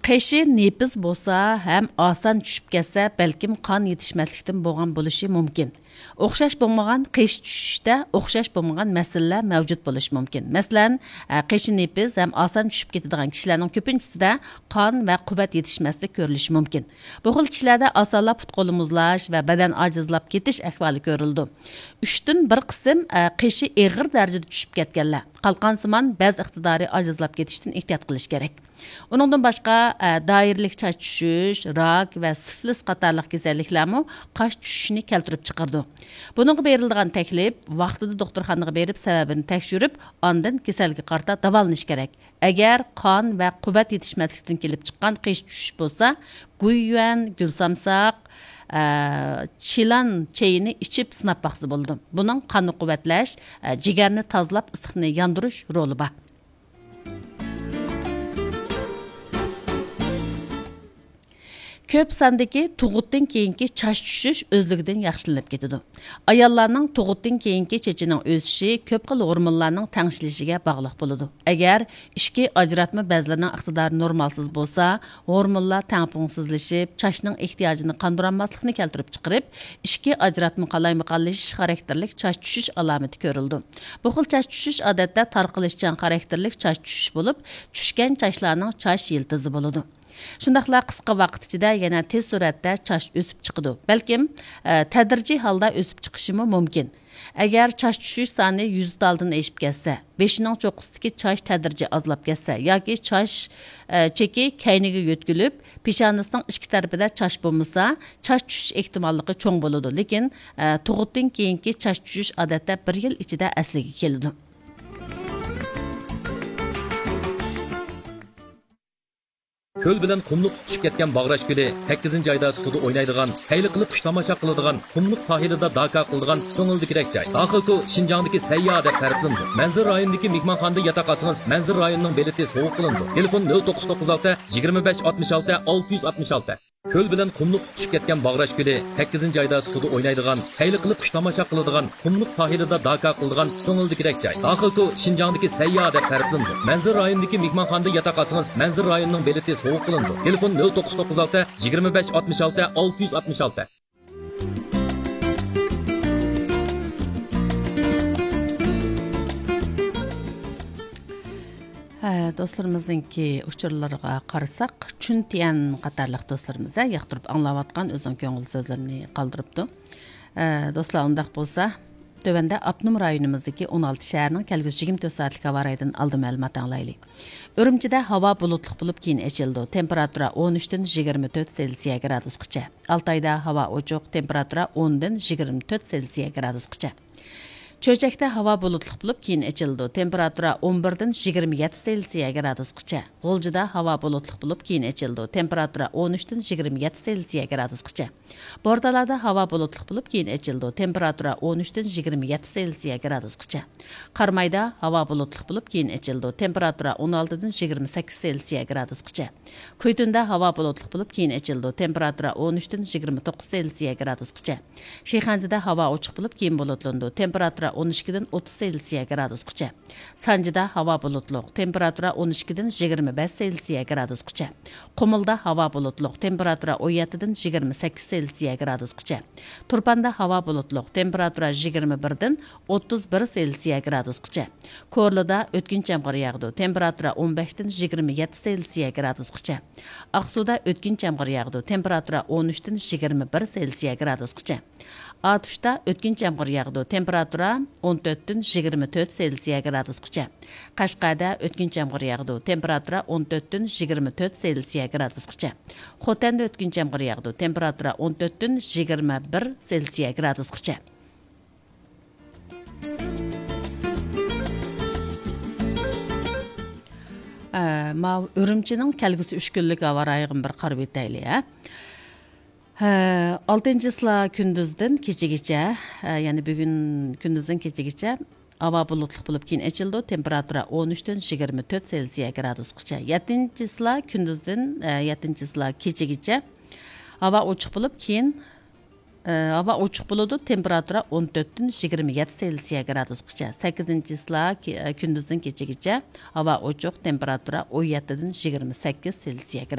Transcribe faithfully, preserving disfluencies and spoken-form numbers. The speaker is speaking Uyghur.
قېشى نېپىز بولسا ھەم ئاسان چۈشۈپ كەتسە، بەلكىم قان يېتىشمەسلىكتىن بولغان بولۇشى مۇمكىن. ئوخشاش بولمىغان قېشى چۈشۈشتە ئوخشاش بولمىغان مەسىلىلەر مەۋجۇت بولۇشى مۇمكىن. مەسىلەن، قېشى نېپىز ھەم ئاسان چۈشۈپ كېتىدىغان كىشىلەرنىڭ كۆپىنچىسىدە قان ۋە قۇۋۋەت يېتىشمەسلىك كۆرۈلۈشى مۇمكىن. بۇ خىل كىشىلەردە ئاسانلا پۇت-قول مۇزلاش ۋە بەدەن ئاجىزلاپ كېتىش ئەھۋالى كۆرۈلىدۇ. ئۈچتىن بىر قىسىم، ئە، قېشى ئېغىر دەرىجىدە چۈشۈپ كەتكەنلەر، قالقانسىمان بەز ئىقتىدارى ئاجىزلاپ كېتىشتىن ئېھتىيات قىلىش كېرەك. ئۇنىڭدىن باشقا، ئە، دائىرىلىك چاچ چۈشۈش، راك ۋە سىفلىس قاتارلىق كېسەللىكلەرمۇ قاش چۈشۈشنى كەلتۈرۈپ چىقىرىدۇ. بۇنىڭغا بېرىلىدىغان تەكلىپ، ۋاقتىدا دوختۇرخانىغا بېرىپ، سەۋەبىنى تەكشۈرۈپ، ئاندىن كېسەلگە قارىتا داۋالىنىش كېرەك. ئەگەر قان ۋە قۇۋۋەت يېتىشمەسلىكتىن كېلىپ چىققان قېشى چۈشۈش بولسا، گۇييۈەن، گۈلسامساق، ئە، چىلان چېيىنى ئىچىپ سىناپ باقسا بولىدۇ. بۇنىڭ قاننى قۇۋۋەتلەش، ئە، جىگەرنى تازىلاپ، ئىسسىقنى ياندۇرۇش رولى بار. كۆپ ساندىكى تۇغۇتتىن كېيىنكى چاچ چۈشۈش ئۆزلۈكىدىن ياخشىلىنىپ كېتىدۇ. ئاياللارنىڭ تۇغۇتتىن كېيىنكى چېچىنىڭ ئۆسۈشى كۆپ خىل ھورمونلارنىڭ تەڭشىلىشىگە باغلىق بولىدۇ. ئەگەر ئىچكى ئاجراتما بەزلىرىنىڭ ئىقتىدارى نورمالسىز بولسا، ھورمونلار تەڭپۇڭسىزلىشىپ، چاچنىڭ ئېھتىياجىنى قاندۇرالماسلىقنى كەلتۈرۈپ چىقىرىپ، ئىچكى ئاجراتما قالايمىقانلىشىش خاراكتېرلىك چاچ چۈشۈش ئالامىتى كۆرۈلىدۇ. بۇ خىل چاچ چۈشۈش ئادەتتە تارقىلىشچان خاراكتېرلىك چاچ چۈشۈش بولۇپ، چۈشكەن چاچلارنىڭ چاچ يىلتىزى بولىدۇ. شۇنداقلا قىسقا ۋاقىت ئىچىدە يەنە تېز سۈرئەتتە چاچ ئۆسۈپ چىقىدۇ. بەلكىم، ئە، تەدرىجىي ھالدا ئۆسۈپ چىقىشىمۇ مۇمكىن. ئەگەر چاچ چۈشۈش سانى يۈز تالدىن ئېشىپ كەتسە، بېشىنىڭ چوققىسىدىكى چاچ تەدرىجىي ئازلاپ كەتسە ياكى چاچ، ئە، چېكى كەينىگە يۆتكىلىپ، پېشانىسىنىڭ ئىچكى تەرىپىدە چاچ بولمىسا، چاچ چۈشۈش ئېھتىماللىقى چوڭ بولىدۇ. لېكىن، ئە، تۇغۇتتىن كېيىنكى چاچ چۈشۈش ئادەتتە بىر يىل ئىچىدە ئەسلىگە كېلىدۇ. كۆل بىلەن قۇملۇق تۇتىشىپ كەتكەن باغراش كۆلى، سەككىزىنچى ئايدا سۇدا ئوينايدىغان، خەيلى قىلىپ قۇش تاماشا قىلىدىغان، قۇملۇق ساھىلىدا داكا قىلىدىغان كۆڭۈلدىكىدەك جاي. داخىلكو شىنجاڭدىكى سەيياھ دەپ تەرىپلىنىدۇ. مەنزىرە رايونىدىكى مېھمانخانىدا ياتاق ئالسىڭىز، مەنزىرە رايونىنىڭ بېلىتى سوۋغا قىلىنىدۇ. تېلېفون: نۆل توققۇز توققۇز ئالتە، يىگىرمە بەش، ئاتمىش ئالتە، ئالتە يۈز ئاتمىش ئالتە. كۆل بىلەن قۇملۇق تۇتۇشۇپ كەتكەن باغراش كۆلى، سەككىزىنچى ئايدا سۇدا ئوينايدىغان، خەيلى قىلىپ قۇش تاماشا قىلىدىغان، قۇملۇق ساھىلىدا داكا قىلىدىغان كۆڭۈلدىكىدەك جاي. داخىلكو شىنجاڭدىكى سەيياھ دەپ تەرىپلىنىدۇ. مەنزىرە رايونىدىكى مېھمانخانىدا ياتاق ئالسىڭىز، مەنزىرە رايونىنىڭ بېلىتى سوۋغا قىلىنىدۇ. تېلېفون: نۆل توققۇز توققۇز ئالتە، يىگىرمە بەش، ئاتمىش ئالتە، ئالتە يۈز ئاتمىش ئالتە. ھە، دوستلىرىمىزنىڭكى ئۇچۇرلىرىغا قارىساق، چۈن تيەن قاتارلىق دوستلىرىمىز، ھە، ياقتۇرۇپ ئاڭلاۋاتقان ئۆزىنىڭ كۆڭۈل سۆزلىرىنى قالدۇرۇپتۇ. ھە، دوستلار، ئۇنداق بولسا، تۆۋەندە ئاپتونوم رايونىمىزدىكى ئون ئالتە شەھەرنىڭ كەلگۈسى يىگىرمە تۆت سائەتلىك ھاۋا رايىدىن ئالدى مەلۇمات ئاڭلايلى. ئۈرۈمچىدە ھاۋا بۇلۇتلۇق بولۇپ، كېيىن ئېچىلىدۇ. تېمپېراتۇرا ئون ئۈچتىن يىگىرمە تۆت سېلسىيە گرادۇسقىچە. ئالتايدا ھاۋا ئوچۇق، تېمپېراتۇرا ئوندىن يىگىرمە تۆت سېلسىيە گرادۇسقىچە. چۆچەكتە ھاۋا بۇلۇتلۇق بولۇپ، كېيىن ئېچىلىدۇ. تېمپېراتۇرا ئون بىردىن يىگىرمە يەتتە سېلسىيە گرادۇسقىچە. غۇلجىدا ھاۋا بۇلۇتلۇق بولۇپ، كېيىن ئېچىلىدۇ. تېمپېراتۇرا ئون ئۈچتىن يىگىرمە يەتتە سېلسىيە گرادۇسقىچە. بورتالادا ھاۋا بۇلۇتلۇق بولۇپ، كېيىن ئېچىلىدۇ. تېمپېراتۇرا ئون ئۈچتىن يىگىرمە يەتتە سېلسىيە گرادۇسقىچە. قارامايدا ھاۋا بۇلۇتلۇق بولۇپ، كېيىن ئېچىلىدۇ. تېمپېراتۇرا ئون ئالتىدىن يىگىرمە سەككىز سېلسىيە گرادۇسقىچە. كۈيتۇندا ھاۋا بۇلۇتلۇق بولۇپ، كېيىن ئېچىلىدۇ. تېمپېراتۇرا ئون ئۈچتىن يىگىرمە توققۇز سېلسىيە گرادۇسقىچە. شىخەنزىدە ھاۋا ئوچۇق بولۇپ، كېيىن بۇلۇتلىنىدۇ. تېمپېراتۇرا ئون ئىككىدىن ئوتتۇز سېلسىيە گرادۇسقىچە. سانجىدا ھاۋا بۇلۇتلۇق، تېمپېراتۇرا ئون ئىككىدىن يىگىرمە بەش سېلسىيە گرادۇسقىچە. قۇمۇلدا ھاۋا بۇلۇتلۇق، تېمپېراتۇرا ئون يەتتىدىن يىگىرمە سەككىز سېلسىيە گرادۇسقىچە. تۇرپاندا ھاۋا بۇلۇتلۇق، تېمپېراتۇرا يىگىرمە بىردىن ئوتتۇز بىر سېلسىيە گرادۇسقىچە. كورلىدا ئۆتكۈنچى يامغۇر ياغىدۇ، تېمپېراتۇرا ئون بەشتىن يىگىرمە يەتتە سېلسىيە گرادۇسقىچە. ئاقسۇدا ئۆتكۈنچى يامغۇر ياغىدۇ، تېمپېراتۇرا ئون ئۈچتىن يىگىرمە بىر سېلسىيە گرادۇسقىچە. ئاتۇشتا ئۆتكۈنچى يامغۇر ياغىدۇ، تېمپېراتۇرا ئون تۆتتىن يىگىرمە تۆت سېلسىيە گرادۇسقىچە. قەشقەردە ئۆتكۈنچى يامغۇر ياغىدۇ، تېمپېراتۇرا ئون تۆتتىن يىگىرمە تۆت سېلسىيە گرادۇسقىچە. خوتەندە ئۆتكۈنچى يامغۇر ياغىدۇ، تېمپېراتۇرا ئون تۆتتىن يىگىرمە بىر سېلسىيە گرادۇسقىچە. ئە، ماۋۇ ئۈرۈمچىنىڭ كەلگۈسى ئۈچ كۈنلۈك ھاۋا رايىغىمۇ بىر قارىۋېتەيلى، ھە. ھە، ئالتىنچى چىسلا كۈندۈزدىن كېچىگىچە، ھە، يەنى بۈگۈن كۈندۈزدىن كېچىگىچە ھاۋا بۇلۇتلۇق بولۇپ، كېيىن ئېچىلىدۇ. تېمپېراتۇرا ئون ئۈچتىن يىگىرمە تۆت سېلسىيە گرادۇسقىچە. يەتتىنچى چىسلا كۈندۈزدىن، ھە، يەتتىنچى چىسلا كېچىگىچە ھاۋا ئوچۇق بولۇپ، كېيىن، ھە، ھاۋا ئوچۇق بولىدۇ. تېمپېراتۇرا ئون تۆتتىن يىگىرمە يەتتە سېلسىيە گرادۇسقىچە. سەككىزىنچى چىسلا كى-، كۈندۈزدىن كېچىگىچە ھاۋا ئوچۇق، تېمپېراتۇرا ئون يەتتىدىن يىگىرمە سەككىز سېلسىيە گرادۇسقىچە.